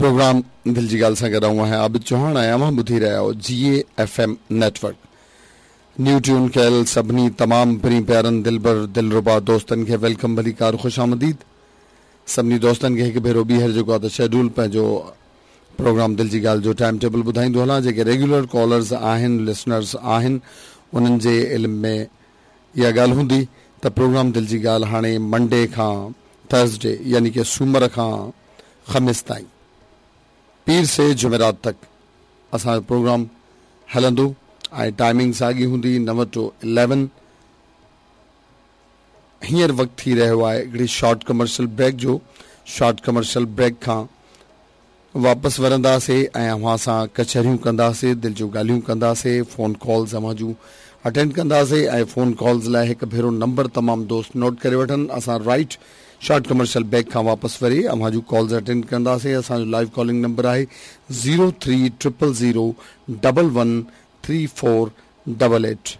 Programme دل جي ڳالهه سان گڏ آئون آهيان عابد چوهاڻ ۽ اوهان ٻڌي رهيا آهيو جي اي F M network. New tune ڪيل سڀني تمام پرين پيارن دلبر دلربا دوستن کي welcome ڀليڪار خوش آمديد. سڀني دوستن کي هڪ ڀيرو ٻيهر جيڪو آهي ته شيڊول پنهنجو پروگرام دل جي ڳالهه جو ٽائيم ٽيبل ٻڌائيندو هلان جيڪي ريگيولر ڪالرز آهن لسنرز آهن انهن جي علم ۾ اها ڳالهه هوندي ته پروگرام دل جي ڳالهه هاڻي منڊي کان ٿرسڊي يعني ڪي سومر کان خميس تائين پير سي جمعرات تڪ اسان جو پروگرام هلندو ۽ ٽائمنگ ساڳي هوندي نو ٽو اليون. هينئر وقت ٿي رهيو آهي هڪڙي شارٽ ڪمرشل بريڪ جو شارٽ ڪمرشل بريڪ کان واپس ورنداسي ۽ اوهان سان ڪچهريون ڪنداسي دل جون ڳالهيون ڪنداسي فون ڪالز اوهان جون اٽينڊ ڪنداسي ۽ فون ڪالز لاء هڪ ڀيرو نمبر تمام دوست نوٽ ڪري وٺن اسان رائيٽ شارٽ ڪمرشل بريڪ کان واپس وري اوهان جون ڪالز اٽينڊ ڪنداسي اسان جو لائيو ڪالنگ نمبر آهي zero three triple zero double one three four double eight.